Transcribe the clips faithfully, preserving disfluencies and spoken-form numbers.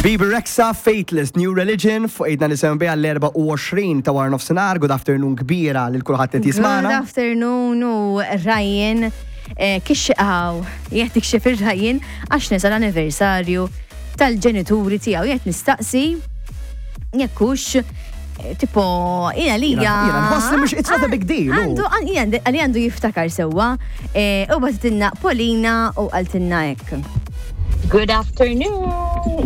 Bebe Rexha, Faithless, New Religion, fuq eight nine seven bija l-erbgħa u għoxrin ta' wara nofsinhar. Good afternoon kbira lil kulħadd qed Good jismana. Afternoon u Ryan eh, kixxaw, jgħet tikxef ir-Ryan għax nesa l-anniversarju tal-ġenituri tiegħu. Jgħet nistaqsi jekk hux eh, tipo jina li Jiena jiena nħoss li mhux, it's not a big deal. U. Għandu, għan- għali għandu jiftakar sewwa eh, u bagħtitilna Polina u qaltilna hekk. Good afternoon.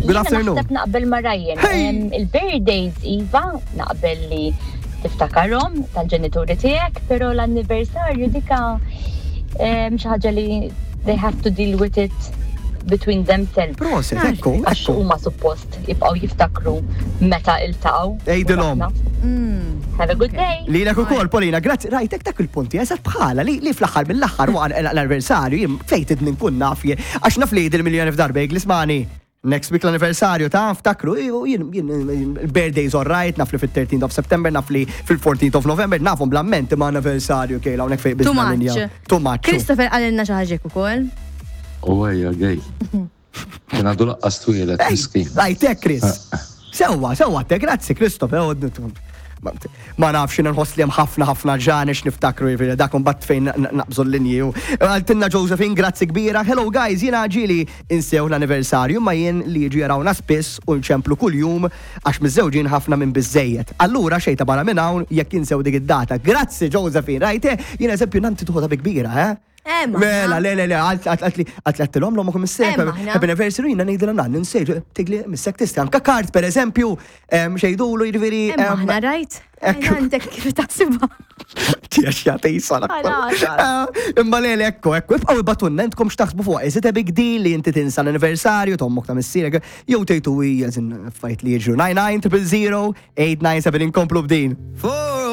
Good afternoon. Naħseb naqbel ma' Ryan. Hey! Em, Il-birthdays, Iva, naqbel li tiftakarhom tal-ġenituri tiegħek, pero l-anniversarju dika em, xi ħaġa li they have to deal with it between themselves. Prosit, ekku, Għax ekku. huma suppost jibqgħu jiftakru meta iltaqgħu. Ejdilhom. Mm. Have a good day. Lilek ukoll, Polina, grazzi, rajtek dak il-punti, eżatt bħala li, li fl-aħħar mill-aħħar waqt l-anniversarju, jien fejn tidni nkun naf jien, għax naf li il-miljoni f'darba jgħid ismagħni. Next week l-anniversarju ta' ftakru, jien jien il-birthdays all right, naf li fil-thirteenth of September, naf li fil-fourteenth of November, nafhom bl-amment ma' anniversarju kejla hawnhekk fejn Too biżna linja. Much. Too much. Christopher qalilna xi ħaġa ukoll. U għajja, gej. Kien għadu lanqas twieled, miskin. Rajtek, Chris. Sewwa, sewwa, te grazzi, Christopher. Ma- Ma nafx, jien nħoss li hemm ħafna ħafna ġanex niftakru, jiġifieri dak imbagħad fejn n- naqbżu l-linji. u- Qaltilna Josephine, grazzi kbira. "Hello guys, jiena ġieli insew l-anniversarju ma jien li jiġu jarawna spiss u nċemplu kuljum għax miżżewġin ħafna minn biżejjed. Allura xejta barra minn hawn jekk insew dik id-data." Grazzi Josephine, rajte, jien eżempju nanti tuħodha bi kbira, eh? Eh, ma Mela, le, le, le, għalt għalt li għalt li għattilhom l-omok missek, Eh, maħna. happy anniversary, jina ngħidilha nan, ninsejt, tigli missek tisti, anka kart per eżempju, em, xejdulu jiġifieri. Eh, maħna rajt. Ekku. Għandek kif taħsibha. Tiex jagħti sala. Għala, Eh, Imma le, le, ekku, ekku, ibqgħu ibagħtulna intkom x'taħsbu fuq. Is it a big deal li inti tinsa l-anniversarju t'ommok, ta' missierek, jew tgħidu hija żin fajt li jiġru? nine nine triple zero eight nine seven, inkomplu b'din.